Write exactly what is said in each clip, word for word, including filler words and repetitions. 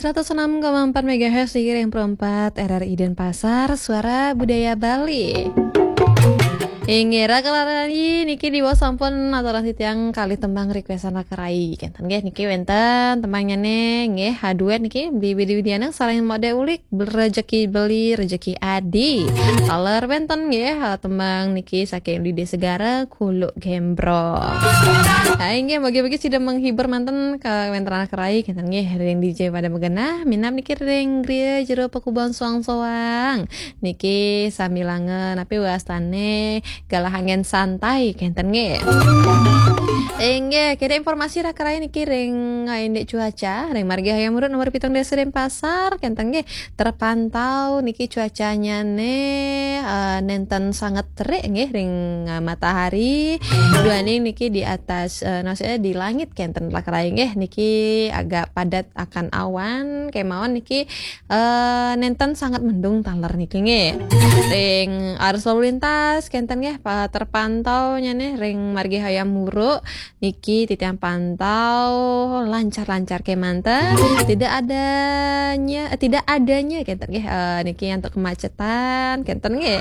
Seratus enam koma empat megahertz di Ring Pro empat R R I Denpasar, Suara Budaya Bali. Inggih, Raka Rai, niki diwaos sampun aturang titiang kalih tembang requestan Raka Rai. Kenten nggih, niki wenten tembangnyane nggih, ha, duet niki, Beli Bidi Widiana sareng Mode Ulik, Rejeki Beli, Rejeki Adi. Taler wenten nggih, ha, tembang niki saking Didi Segara, Kuluk Gembrong. Ha, inggih, mugi-mugi sida menghibur manten kawenten Raka Rai, kenten nggih, ring D J pada magenah, minab niki ring griya jero pakubon soang-soang. Niki sambilanga napi wastane galah angin santai, kenten nggih. Inggih, kira informasi Raka Rai niki ring, eh, indik cuaca, ring Margi Hayam Wuruk nomor pitung dasa Denpasar, kenten nggih. Terpantau niki cuacanyane, eh, nenten sanget terik nggih ring, eh, matahari. Duaning niki di atas, eh, maksudnya di langit kenten Raka Rai nggih, niki agak padat akan awan, kemawon niki, eh, nenten sanget mendung taler niki nggih. Ring arus lalu lintas kenten nggih, pa-, terpantau nyane ring Margi Hayam Wuruk niki titiang pantau lancar-lancar kemanten. Tidak adanya, eh, tidak adanya kenten nggih, eh, niki untuk kemacetan kenten nggih.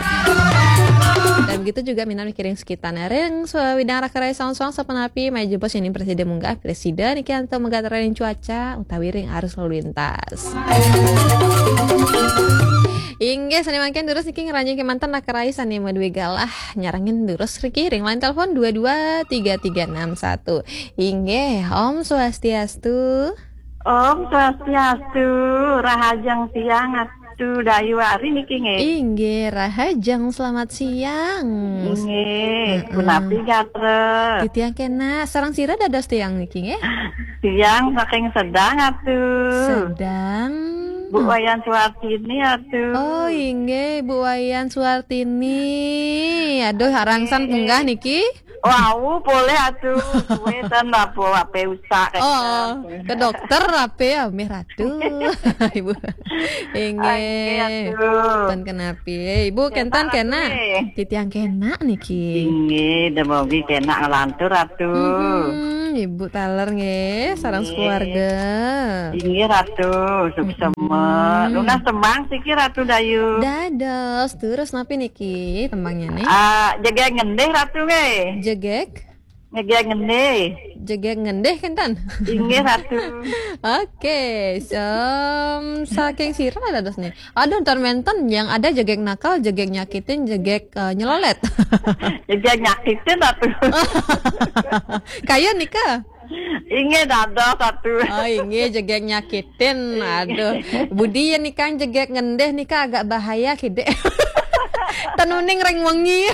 Dan begitu juga minab niki ring sekitarnya. Ring sawidang Raka Rai soang-soang sapunapi, maya jebos yen presida munggah, presida niki antuk megat ring cuaca utawi ring arus lalu lintas. Inggih, sane mangkin durus niki ngranjing kemanten Raka Rai sane madue galah nyarengin durus riki ring line telepon dua dua tiga tiga enam satu. Inggih, Om Swastiastu. Om Swastiastu, rahajeng siang Atu Dayu Ari niki nggih. Inggih, rahajeng selamat siang. Nggih, mm-mm. Punapi gatra? Titiang kena, sareng sira dados tiang niki nggih? Tiang saking Sedang Atu. Sedang. Bu Wayan Suartini Atu. Oh, inggih, Bu Wayan Suartini. Aduh, arangsan munggah niki. Wau, polih Atu. Suwe ten apa, ape usak. Oh, kenten. Ke dokter ape ya, mih Ratu. Ibu. Inggih. Inggih, Atu. Ten kenapi. Ibu kenten kena. Nggih. Titiang kena niki. Inggih, demogi kena nglantur Atu. Mhm, Ibu taler nggih, sareng sekeluarga. Inggih Ratu, suksema. Mm-mm. Nunas tembang siki Ratu Dayu. Dados, terus napi niki tembangnya nih? Ah, jegeg ngendih Ratu nggih. Jegeg? Jegeg ngendih. Jegeg ngendih kenten? Inggih Ratu. Oke, sem-, saking sira dados nih. Aduh, ntar menten yang ada jegeg nakal, jegeg nyakitin, jegeg, eh, nyelolet. Jegeg nyakitin Ratu. Kaya nika? Inggih dados Ratu. Oh, inggih jegeg nyakitin. Aduh. Budi ya nikang jegeg ngendih nika agak bahaya kidik. Tenuning ring wengi.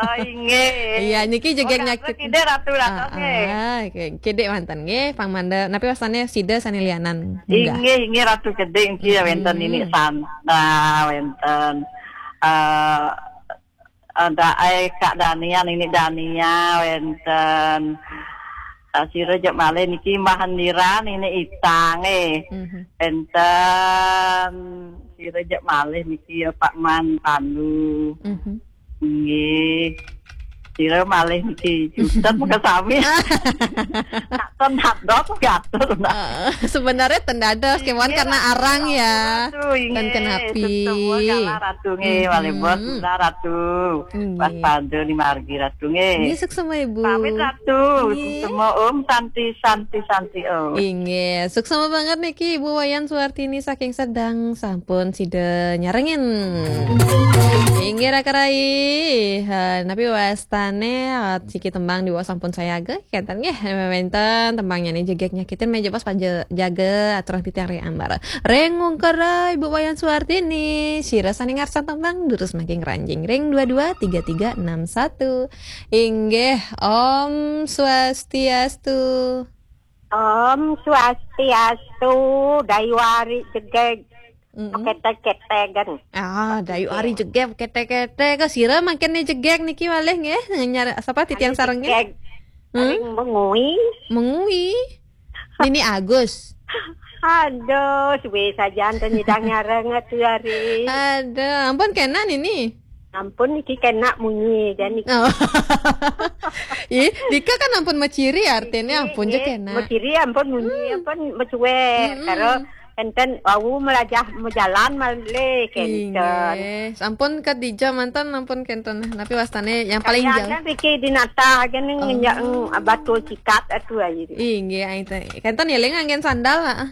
Oh, inggih. Iya, niki jegeg nyakitin. Kidik Ratu dados nggih. Ah, ah, kidik manten nggih, pang manda. Napi wastane sida sane lianan? Inggih, inggih Ratu kidik niki ya wenten ini Santa, wenten, eh, ada ai Kak Dania, Nini Dania, wenten, eh, sira jek malih niki Mbah Hendira, Nini Itang, eh. Mhm. Wenten, sira jek malih niki ya Pak Man Pandu. Mhm. Nggih. Sira malih niki Jutet mengke sami. Nak ten dados gatur, nah. Eh, sebenarnya ten dados, kemawon karena arang ya. Ratu, inggih. Ten kenapi. Semua kalah Ratu nggih, malih bos, mhm, Ratu. Inggih. Waspada di margi Ratu nggih. Inggih, suksema Ibu. Pamit Ratu. Inggih. Suksema Om, Santi, Santi, Santi Om. Inggih, suksema banget niki Ibu Wayan Suartini saking Sedang, sampun sida nyarengin. Inggih Raka Rai. Ha, napi wastane, ha, siki tembang diwaos sampun sayaga. Kenten nggih, wenten tembangnya nih jegeg nyakitin meja pas paja jaga aturan titiang ring ambara. Ring ungkara Ibu Wayan Suartini, sira sane ngarsan tembang durus mangkin ranjing ring dua dua tiga tiga enam satu. Inggih, Om Swastiastu. Om Swastiastu, Dayu Ari jegeg. Mm-mm. Ketek-ketegan. Ah, Dayu Ari jegeg, ketek-ketek. Kok sira mangkin nih jegeg niki malih nggih? Nyar-, sapa titiang sarengnya? Jegeg. Hmm? Ring Mengwi. Mengwi. Nini Agus. Aduh, suwe saja enten nyidang nyareng Atu Ari. Aduh, ampun kena Nini. Ampun niki kena munyi jan niki. Oh. Ih, nika kan ampun maciri artinya ampun je kena. Maciri ampun munyi, hmm, ampun mecuek. Mm-mm. Karo Kenten wau melajah mejalan malih kenten. Inggih. Sampun Khadijah manten, ampun kenten. Napi wastane yang paling jauh? Kayaknya Vicky Dinata gini ngenjak, mm, batu sikat atu aja. Inggih, ai teh. Kenten eling anggen sandal, ha.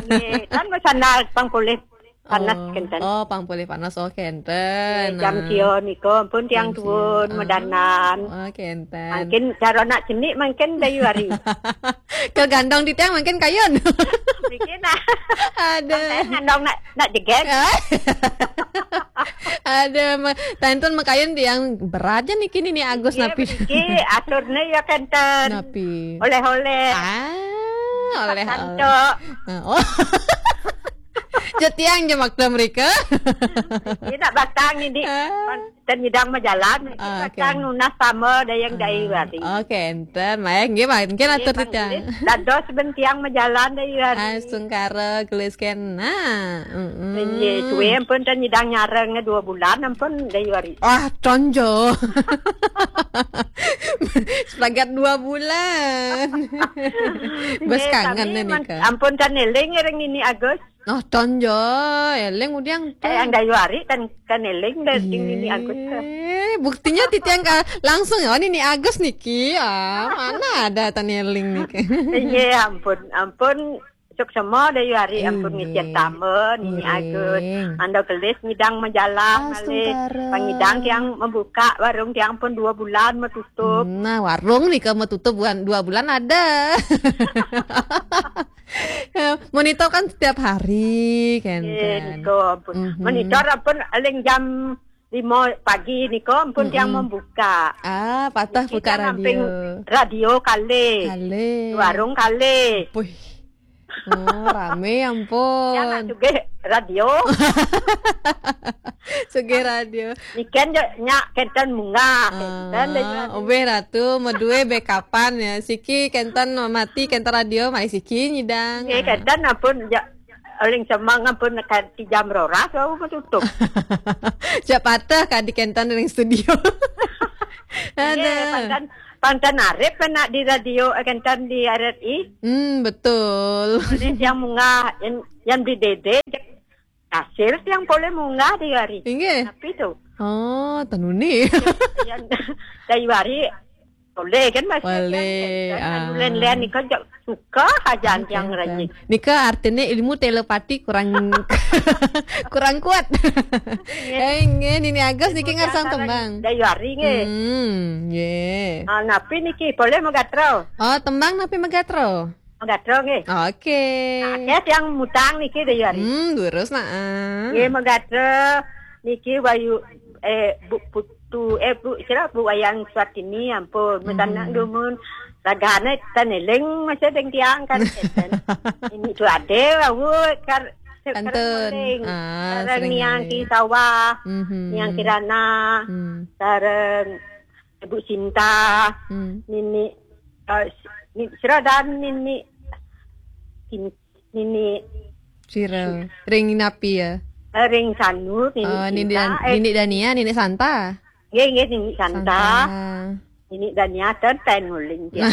Inggih, kan bersandal pang polih panas kenten. Oh, pang polih panas, oh, kenten. Jam sia nika, ampun tiang tuun, medanan. Oh, kenten. Mungkin cara nak cenik, mungkin dayu hari. Kegandong di tiang mungkin kayun. Mungkin lah. Ada. Ngandong nak, nak jeget. Ada, ma-, tantun makayun tiang berat ja niki, Nini Agus, napi. Niki aturne ya kenten. Napi. Oleh-oleh. Ah, oleh-oleh. Santo. Ah, oh. Ja tiang ja makta mereka. Ini nak batang ini. Ah. Ten nyidang majalan, ah, oke. Batang nunas sama dayang dayu hari. Oke, enten. Maya nggih, mungkin atur titiang. Dados bentiang majalan dayu hari. Ah, sungkara gelis kena. Mm-mm. Nggih, suwe ampun ten nyidang nyareng dua bulan ampun dayu hari. Ah, tonjo. Sepagat dua bulan. Bos kangen nih, Nika. Ampun ten eling ring Nini Agus. Oh, tonjo, eling udiang ten. Eh, yang dayu hari ten, ten eling dari Nini Agus. Buktinya titiang ka-, langsung, "Oh, Nini Agus niki." Ah, mana ada ten eling niki. Iya, ampun, ampun. Suksema dayu hari, ampun, ngisian tama, Nini Agus. Anda kelis ngidang majalah malih. Pangidang tiang membuka warung tiang pun dua bulan metutup. Nah, warung nika metutup bulan, dua bulan ada. Monitor kan setiap hari, kan. Nggih, nika ampun. Monitor ampun eling jam lima pagi nika ampun tiang membuka. Ah, patah buka radio. Niki kan amping radio kalih. Kalih. Warung kalih. Puih. Oh, rame ampun. Tiang nak sugih radio. Sugih radio. Niken je nyak kenten munggah. Ah, kenten deh. Obeh ratu, medue bekapan ya. Siki kenten mati, kenten radio, mai siki nyidang. Nggih, kenten ampun ja, eling semang ampun nekan ti jam roras, wau metutup. Ja patah kadi kenten ring studio. Nggih, ada. Panten, panten arep kena di radio, eh, kenten di R R I. Hmm, betul. Ini yang munggah, yang, yang di Dede, hasil yang boleh munggah di hari. Inggih. Tapi tu. Oh, tenuni. Yang dari hari boleh kan, Mas? Boleh, kan, ah. Anu len-len ni kan suka aja yang rajin. Nika artinya ilmu telepati kurang, kurang kuat. Inggih. Eh, inggih, Nini Agus niki ngarsang tembang. Dari hari nggih. Hmm, nggih. Ah, napi niki boleh megatro? Oh, tembang napi megatro? Megatro nggih. Oke. Nah, akeh yang mutang niki dari hari. Hmm, durus nah. Nggih, megatro niki Wayu, eh, Bu Putu, eh, Bu, sira Bu Wayan Suartini, ampun. Metanak dumun ragane ten eling masih deng tiang kan. Ini tu ade, wau kar-, kantun. Sering eling. Ah, sareng sering Niang eling. Ki Sawah, Niang Kirana, sareng Ibu Sinta, Nini, eh, ni-, sira dan Nini, Sin-, Nini sira. Ring napi ya? Eh, ring Sanu, Nini Sinta, eh, Nini Dania, Nini Santa. Nggih, nggih, Nini Santa. Santa. Nini Dania ten, ten nguling dia.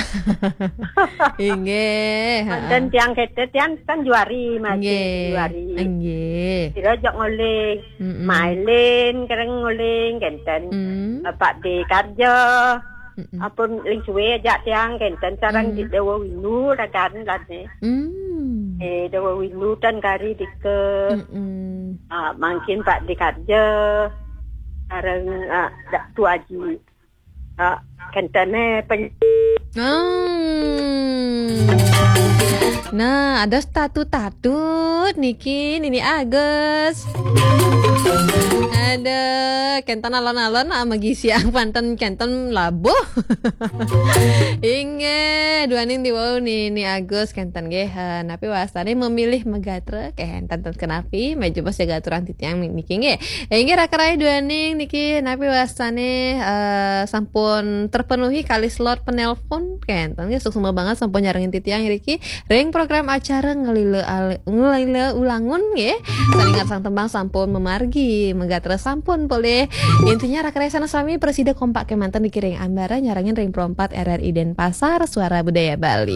Inggih, ha. Manten tiang kete, tiang kan juari masih juari. Inggih. Sira jok nguling. Mm-mm. Mailin kereng nguling kenten. Mm. Pak De Karja. Mm-mm. Ampun ling suwe ajak tiang kenten sareng di Dewa Windu ragan lane. Mm. Eh, Dewa Windu ten kari dike. Mm-mm. Ah, mangkin Pak De Karja sareng, ah, Dak Tu Aji. Ah, kentene pen- Hmm. Nah, ada tatu-tatu niki, Nini Agus. Ada kenten alon-alon, ah, magisiang panten kenten labuh. Inggih, duaning diwau Nini Agus kenten nggih, eh, napi wastane memilih megatre, kenten kenapi, meja bos jaga aturan titiang niki nggih. Inggih, raka rai duaning niki napi wastane, eh, sampun terpenuhi kali slot penelpon. Kenten nggih, suksma banget sampun nyarengin titiang ngriki ring program acara Ngelila Al-, Ngelila Ulangun nggih. Saling ngarsang tembang sampun memargi, megatra sampun polih. Intinya raka rai sareng sami prasida kompak kemanten niki ring ambara nyarengin ring Pro empat R R I Denpasar, Suara Budaya Bali.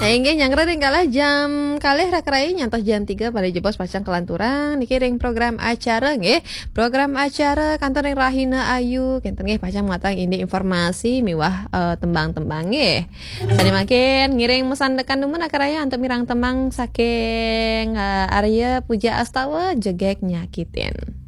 Nah, inggih nyanggra ring kalih jam kalih rakraya nyantos jam tiga pada jebos pacang kalanturang niki ring program acara nggih. Program acara kantun ring Rahina Ayu kenten nggih pacang matang indik informasi miwah eh, tembang-tembang nggih. Sane mangkin ngiring masandekan dumun akraya antuk mirang tembang saking eh, Arya Puja Astawa Jegeg Nyakitin.